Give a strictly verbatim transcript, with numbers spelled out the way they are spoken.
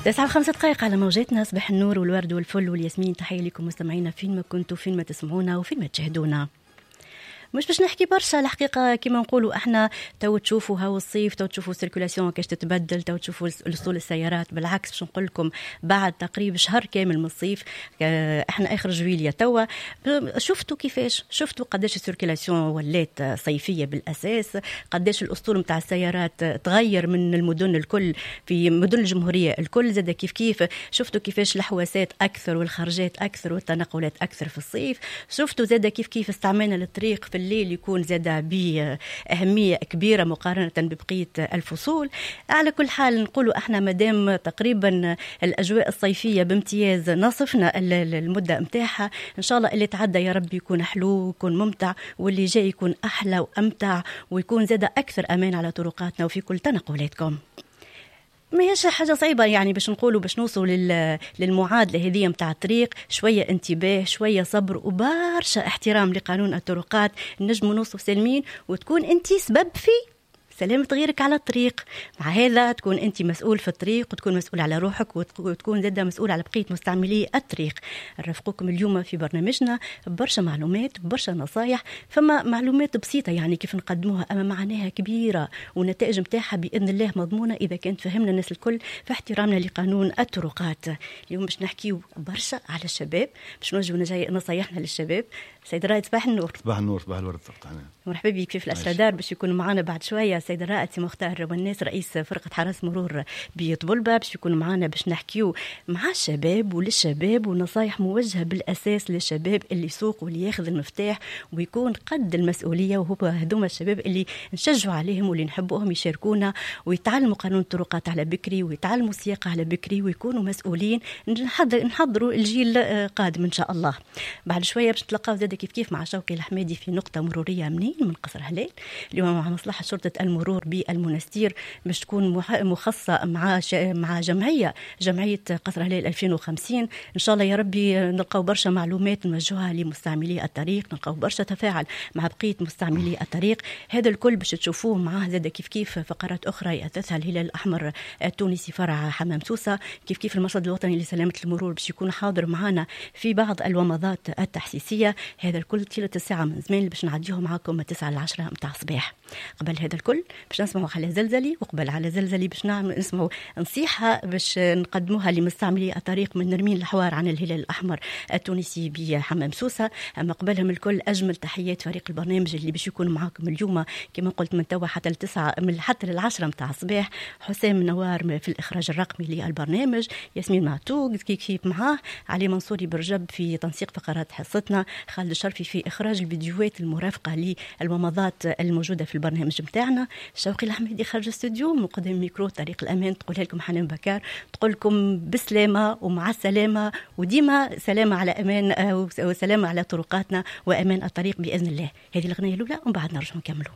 تسعة وخمسة دقائق على موجاتنا. صباح النور والورد والفل والياسمين. تحية لكم مستمعينا فين ما كنتوا، فين ما تسمعونا وفين ما تشاهدونا. مش باش نحكي برشا الحقيقة، كما نقولوا احنا تو تشوفوا هاو الصيف، تو تشوفوا ال circulation كيفاش تتبدل، تو تشوفوا وصول السيارات. بالعكس باش نقول لكم بعد تقريبا شهر كامل من الصيف، احنا اخر جويليا توا، شفتوا كيفاش، شفتوا قداش ال circulation ولات صيفية بالاساس، قداش الاسطول نتاع السيارات تغير من المدن الكل، في مدن الجمهورية الكل زاد كيف كيف. شفتوا كيفاش الحواسات اكثر والخرجات اكثر والتنقلات اكثر في الصيف. شفتوا زاد كيف كيف استعمالنا للطريق في الليل يكون زاد بأهمية كبيرة مقارنة ببقية الفصول. على كل حال نقولوا احنا مادام تقريبا الأجواء الصيفية بامتياز نصفنا المدة متاعها، إن شاء الله اللي تعدى يا رب يكون حلو ويكون ممتع، واللي جاي يكون أحلى وأمتع ويكون زاد أكثر أمان على طرقاتنا وفي كل تنقلاتكم. ما هيش حاجة صعيبة يعني باش نقولوا باش نوصلوا لل... للمعادلة هذه متاع الطريق، شوية انتباه، شوية صبر، وبرشا احترام لقانون الطرقات، نجموا نوصلوا سالمين وتكون انت سبب في سلامة غيرك على الطريق. مع هذا تكون أنت مسؤول في الطريق، وتكون مسؤول على روحك، وتكون زادة مسؤول على بقية مستعملي الطريق. نرافقكم اليوم في برنامجنا برشا معلومات، برشا نصايح. فما معلومات بسيطة يعني كيف نقدموها، أما معناها كبيرة والنتائج متاعها بإذن الله مضمونة إذا كانت فهمنا الناس الكل في احترامنا لقانون الطرقات. اليوم باش نحكيو برشا على الشباب، باش نوجهوا نصايحنا للشباب. سيد الرائد صباح النور. صباح النور، صباح الورد. مرحبا بك في الأسرادار. باش يكونوا معنا بعد شوية سيد الرائد سي مختار والناس رئيس فرقة حرس مرور بطبلبة، باش يكونوا معنا باش نحكيو مع الشباب وللشباب، ونصايح موجهة بالأساس للشباب اللي يسوق واللي ياخذ المفتاح ويكون قد المسؤولية، وهو هذوما الشباب اللي نشجعوا عليهم واللي نحبوهم يشاركونا ويتعلموا قانون الطرقات على بكري ويتعلموا السياقة على بكري ويكونوا مسؤولين. نحضروا الجيل قادم إن شاء الله. بعد شوية باش نتلقاو زاد كيف كيف مع شوقي الحمادي في نقطة مرورية منين من قصر هلال، اليوم مع مصلحة شرطة المرور بالمنستير، باش تكون مخصصة مع مع جمعية جمعية قصر هلال ألفين وخمسين. إن شاء الله يا ربي نلقاو برشا معلومات نوجهها لمستعملي الطريق، نلقاو برشا تفاعل مع بقية مستعملي الطريق. هذا الكل باش تشوفوه معاه زاد كيف كيف فقرات أخرى يأثثها الهلال الأحمر التونسي فرع حمام سوسة، كيف كيف المرصد الوطني لسلامة المرور باش يكون حاضر معنا في بعض الومضات التحسيسية. هذا الكل طيلة الساعة من زمان باش نعديه معاكم من تسعة لعشرة متاع الصباح. قبل هذا الكل باش نسمعوا على زلزلي، وقبل على زلزلي باش نعمل نسمعوا نصيحة باش نقدموها لمستعملي الطريق من نرمين الحوار عن الهلال الأحمر التونسي بحمام سوسة. أما قبلهم الكل أجمل تحيات فريق البرنامج اللي باش يكون معاكم اليوم كما قلت من توا حتى التسعة من حتى للعشرة متاع الصباح. حسام نوار في الإخراج الرقمي للبرنامج، ياسمين معتوق كيف معاه، علي منصوري برجب في تنسيق فقرات حصتنا، خالد الشرفي في إخراج الفيديوهات المرافقة للومضات الموجودة في البرنامج متاعنا، شوقي الحميدي خارج الاستوديو مقدم ميكرو طريق الأمان. تقولها لكم حنان بكار، تقول لكم بسلامة ومع السلامة، وديما سلامة على أمان وسلامة على طرقاتنا وأمان الطريق بإذن الله. هذه الأغنية الأولى ومن بعد نرجع نكملوا.